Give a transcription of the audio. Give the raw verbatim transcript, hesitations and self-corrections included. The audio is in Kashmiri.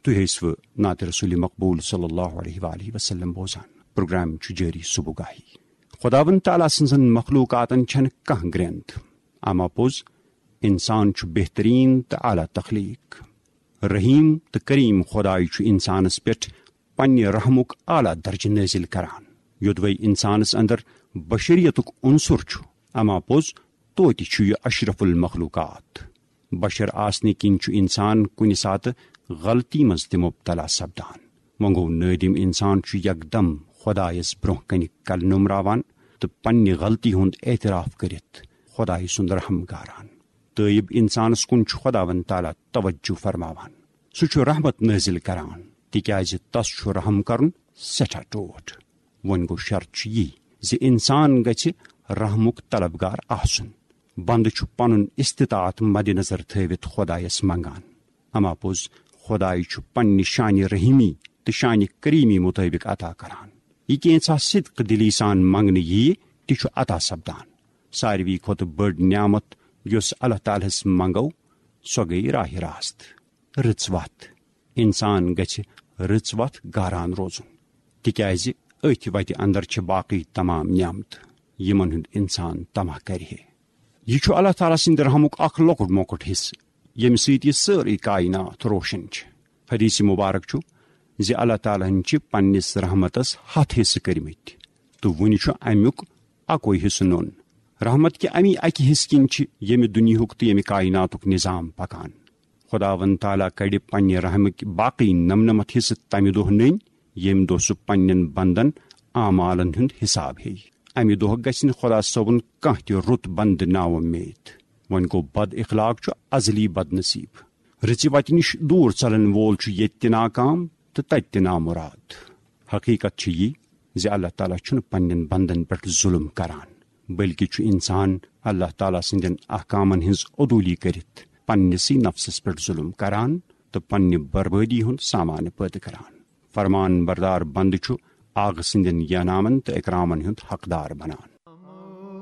تُہۍ ٲسِو نعت رسول مقبول صلی اللہ علیہ وآلہ وسلم بوزان۔ پروگرام چھُ جٲری صبح گاہی۔ خداوند تعالیٰ سٕنزن مخلوقاتن چھنہٕ کانٛہہ گرٛنٛد۔ اما پوٚز، انسان چھُ بہترین تہٕ اعلیٰ تخلیق۔ رحیم تہٕ کریم خداے چھُ انسانس پٮ۪ٹھ پننہِ رحمُک اعلیٰ درجہٕ نٲزِل کران۔ یوٚدوے انسانس اندر بشریتُک عنصر چھُ، اما پوٚز توتہِ چھُ یہِ اشرف المخلوقات۔ بشر آسنہٕ کِنۍ چھُ انسان کُنہِ ساتہٕ غلطی منٛز تہِ مبتلا سپدان۔ وۄنۍ گوٚو نٲدِم انسان چھُ یکدم خدایس برونٛہہ کنہِ کلہٕ نومراوان تہٕ پننہِ غلطی ہُنٛد اعتراف کٔرِتھ خدایہِ سُنٛد رحم گاران۔ تٲیب انسانس کُن چھُ خداوند تعالیٰ توجہ فرماوان۔ سُہ چھُ رحمت نٲزِل کران، تِکیازِ تس چھُ رحم کرُن سٮ۪ٹھاہ ٹوٹھ۔ وۄنۍ گوٚو شرط چھُ یی زِ انسان گژھِ رحمُک طلبگار آسُن۔ بندٕ چھُ پنُن استطاعت مد نظر تھٲوِتھ خدایس منگان۔ اما پوٚز، خدایہِ چھُ پننہِ شانِ رحیمی تہٕ شانِ کریمی مطٲبق عطا کران۔ یہِ کینٛژھا صدق دلی سان منگنہٕ ییہِ، تہِ چھُ عطا سپدان۔ ساروی کھۄتہٕ بٔڑ نعمت یۄس اللہ تعالیٰ ہس منگو، سۄ گٔیہِ راہ راست، رٕژ وتھ۔ انسان گژھِ رٕژ وتھ گاران روزُن، تِکیازِ أتھۍ وتہِ اندر چھِ باقی تمام نعمتہٕ، یِمن ہُنٛد انسان طمع کرِ ہے۔ یہِ چھُ اللہ تعالیٰ سٕنٛدِ رحمُک اکھ لۄکُٹ مۄکُٹ حصہٕ، ییٚمہِ سۭتۍ یہِ سٲرٕے کائنات روشن چھِ۔ حدیث مبارک چھُ زِ اللہ تعالیٰ ہن چھِ پننِس رحمتس ہتھ حصہٕ کٔرمٕتۍ تہٕ وُنہِ چھُ امیُک اکوے حصہٕ نوٚن۔ رحمت کہِ امی اکہِ حصہٕ کِنۍ چھِ ییٚمہِ دُنیاہُک تہٕ ییٚمہِ کائناتُک نظام پکان۔ خداوند تعالیٰ کڑِ پننہِ رحمٕکۍ باقی نمنمتھ حصہٕ تمہِ دۄہ نٔنۍ، ییٚمہِ دۄہ سُہ پننٮ۪ن بندن اعمالن ہُنٛد حساب ہیٚیہِ۔ امہِ دۄہ گژھِ نہٕ خدا صٲبُن کانٛہہ تہِ رُت بندٕ ناومید۔ وۄنۍ گوٚو، بد اخلاق چھُ ازلی بد نصیب۔ رٕژِ وتہِ نِش دوٗر ژلن وول چھُ ییٚتہِ تہِ ناکام تہٕ تتہِ تہِ نامراد۔ حقیقت چھِ یہِ زِ اللہ تعالیٰ چھُنہٕ پننٮ۪ن بندن پٮ۪ٹھ ظلم کران، بلکہِ چھُ انسان اللہ تعالیٰ سٕنٛدٮ۪ن احکامن ہٕنٛز عدولی کٔرِتھ پننِسٕے نفسس پٮ۪ٹھ ظلم کران تہٕ پننہِ بربٲدی ہُنٛد سامان پٲدٕ کران۔ فرمان بردار بندٕ چھُ آغہٕ سٕنٛدٮ۪ن ینامن تہٕ اکرامن ہُنٛد حقدار بنان۔